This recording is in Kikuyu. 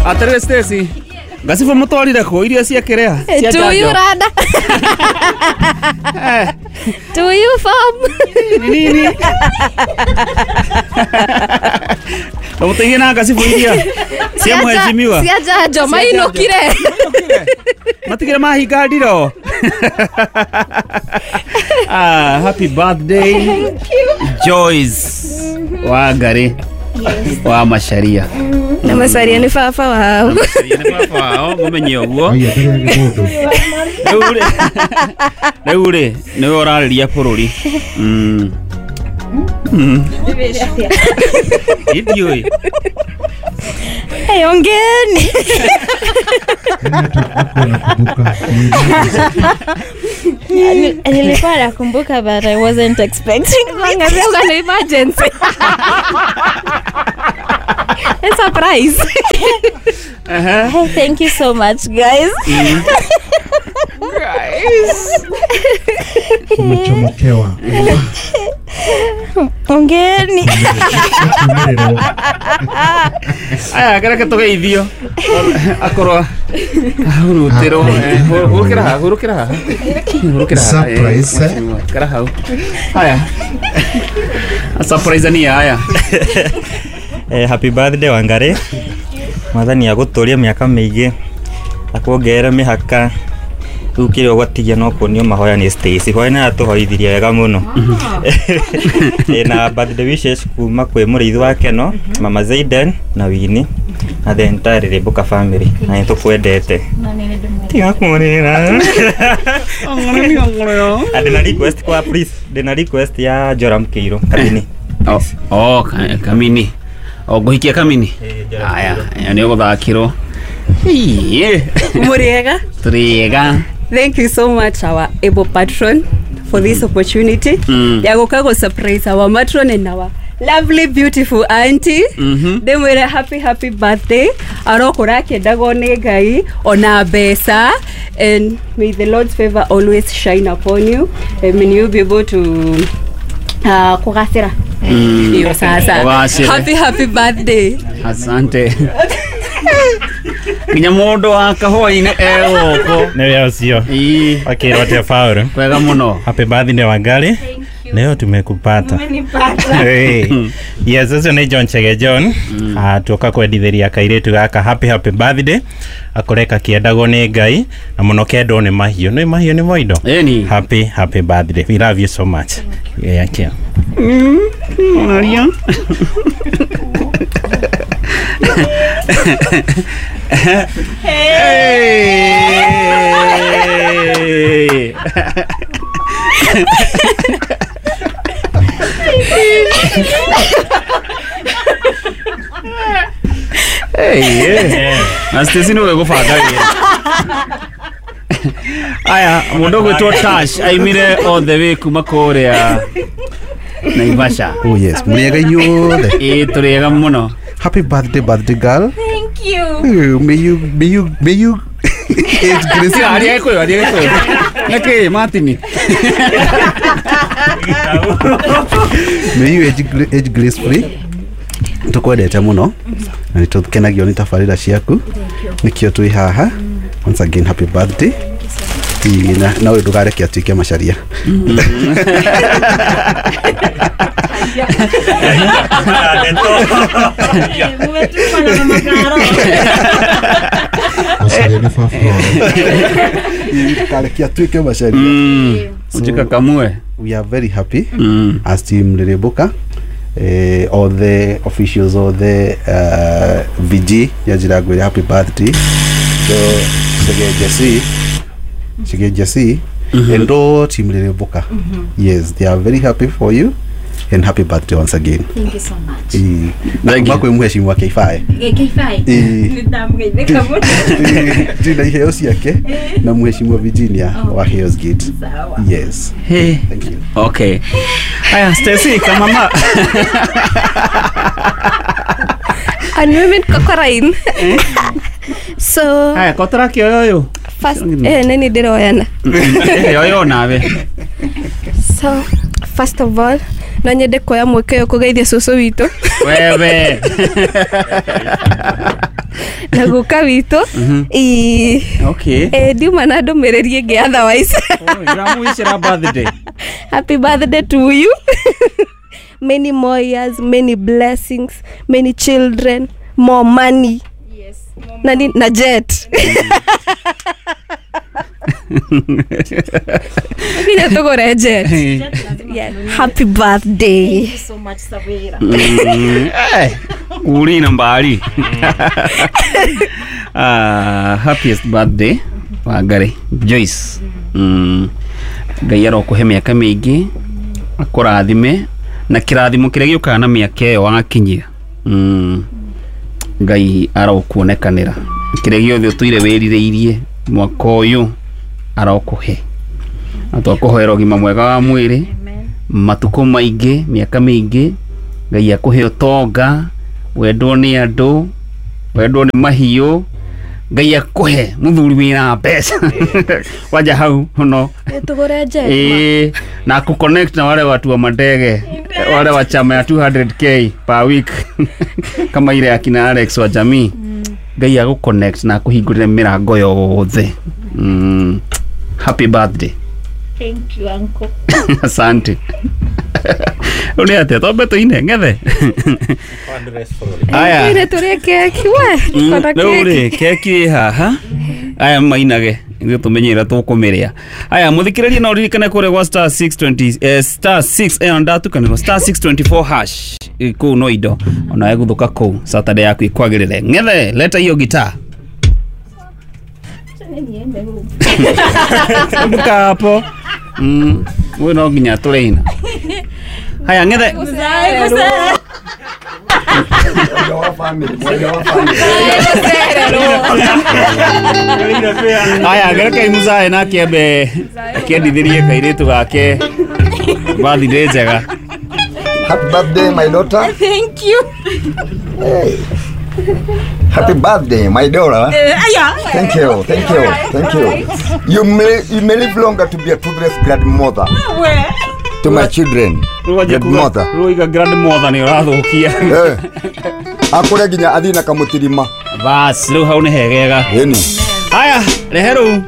Atarä Stacy ngacibå må twarire kå irio cia kä rä a Do you rada? Do you farm? Nini na må teithie na ngacibå iria cia mheshimiwa Cia njanjo mainũkire. Matigire mahinga ndiro. Ah, happy birthday. Thank you. Joyce Wangari wa Macharia. Na Macharia nĩ baba wao. Macharia nĩ baba wao, mũmenye ũguo. Rĩu rĩ nĩwe ũrarĩria bũrũri. Ndiũĩ. Hey, ongeni. Nilikuwa nakumbuka but I wasn't expecting. An emergency. A surprise. Hey, thank you so much, guys. Guys. Umechomokewa. Ongeni. Aya, kareke tugeithio. Akorwo ahurutĩrwo, hurũkĩra haha, hurũkĩra haha. Hurũkĩra haha. Surprise. Kara hau. Haya. Surprise ni haya. Happy birthday Wangari. Mwathani agũtũrie mĩaka mĩingĩ, akuongerere mĩhaka. Rĩu kĩrĩa ũgwatigia no kuonio mahoya nĩ Stacy. Hoya nĩ atũhoithirie wega mũno. Na birthday wishes kuma kwĩ mũrĩithi wa Keno, Mama Zaiden na Winnie na the entire Rĩrĩmbũka family. Na nĩ tũkwendete. Tiga kũrĩra. Ndĩna request kwa please, ndĩna request ya Joram Kĩirũ Kamini. Oh, Kamini. O ngũhikia Kamini. Aya, nĩ ũgũthakĩrwo. Muriega. Tũrĩega. Thank you so much, our able patron, for this opportunity. Ya gũka go surprise our matron and our lovely, beautiful auntie. Ndĩmwĩre happy, happy birthday. Arokũra akĩendagwo nĩ Ngai ona mbeca. And may the Lord's favor always shine upon you. And may you be able to kũgacĩra. Iyo sasa. Happy, happy birthday. Asante. Nginya mũndũ wa kahũa-inĩ egũkũ. Nĩwe ũcio. Akĩrwo atĩa Paul? Kwega mũno. Happy birthday Wangari. Leo tumekupata. Hey. Yes, ũcio nĩ John Chege John. Tuoka kwendithĩria kairĩtu gaka happy happy birthday. Akore kakĩendagwo nĩ Ngai na mũno kendwo nĩ mahiũ. Nĩ mahiũ nĩ moindo. Happy happy birthday. We love you so much. Yeah, yeah. Maria. Hey! Hey, yeah. Na Stacy nĩwe gũbanga wĩra. Aya, mũndũ ũgwĩtwo Tash aimire all the way kuma kũrĩa Naivasha. Oh yes, mũrĩega inyuothe. Ĩĩ tũrĩega mũno. Happy birthday, birthday girl. Thank you. May you age grace. Aria gĩkũyũ, aria gĩkũyũ. Nĩkĩ Martin? May you age gracefully. Tukwendete mũno na nĩtũkenagio nĩ tabarĩra ciaku. Nĩkĩo twĩ haha. Once again, happy birthday. Na ũyũ ndũkareke atuĩke Macharia. Ndũkareke atuĩke Macharia. Ujikakamue. We are very happy as team Rĩrĩmbũka. All the officials, all the VG ya ngwĩre happy birthday. So Chege Jesse and all team Rĩrĩmbũka. Yes, they are very happy for you and happy birthday once again. Thank you so much. Thank you. Kwĩ mheshimiwa K5. K5. Nĩndamũgeithĩka mũno. Ndĩna iheo ciake na mheshimiwa Virginia wa Heroes Gate. Yes. Hey. Thank you. Okay. Aya, Stacy kama mama. And women kokorain. So Aya, kotora kĩoyo ũyũ. First, nini ndĩroyana. Yoyo nawe. So, first of all, No nyende kuoya mweke ũyũ kũgeithia cũcũ witũ wewe na guka witũ. Ĩĩ. Okay. Ndiuma na ndũmĩrĩri ĩngĩ otherwise. Ndĩramwĩcĩra birthday. Happy birthday to you. Many more years, many blessings, many children, more money. Yes. Na, na jet. Nginya tũgũre jet. Yeah. Happy birthday. Thank you so much, Sabira. Urina mbali. Happiest birthday Wangari Joyce. Ngai arokuhe mĩaka mĩingĩ, akũrathime na kĩrathimo kĩrĩa gĩũkaga na mĩaka ĩyo wakinyia. Ngai arokuonekanĩra kĩrĩa gĩothe ũtũire wĩrirĩirie mwaka ũyũ arokuhe. Na twakũhoera ũgima mwega wa mwĩrĩ, matukũ maingĩ, mĩaka mĩingĩ, Ngai akũhe ũtonga, wendwo nĩ andũ, wendwo nĩ mahiũ, Ngai akũhe mũthuri wĩna mbeca. Wanja hau no Tũgũre jet. Na kuconnect na wale watu wa mandege, wale wa chama ya 200k per week kama ile akina Alex wa jamii. Ngai agũconnect na akũhingũrĩre mĩrango yothe. Happy birthday. Thank you, uncle. Asante. Ule atia tombe tuine ngethe. Aya. Tuine tũrĩe keki we. Tũkona Rĩu keki. rĩ keki ĩ haha. Aya mainage ithuĩ tũmenye ĩrĩa tũkũmĩrĩa. Aya mũthikĩrĩrie no ũririkane kũrĩa gwa star 620 star 6 ĩyo ndatukanĩrwo star 624 hash kũu no indo ona egũthũka kũu Saturday yaku ĩkwagĩrĩre. Ng'ethe leta hiyo gitaa. Mbuka hapo. Wewe no nginya tũrĩina. Haya ng'ethe. Haya ngerekai muzae na kiembe akĩendithĩrie kairĩtu gake birthday njega. Happy birthday, my daughter. Thank you. Hey. Happy birthday, my daughter. Yeah. Thank you, thank you, thank you. You may live longer to be a toothless grandmother. Where? To my children. Grandmother. Ruiga grandmother nĩ ũrathũkia. Akũre nginya athiĩ na kamũtirima. Bas, rĩu hau nĩ hegega. Ĩni. Haya, rehe rĩu.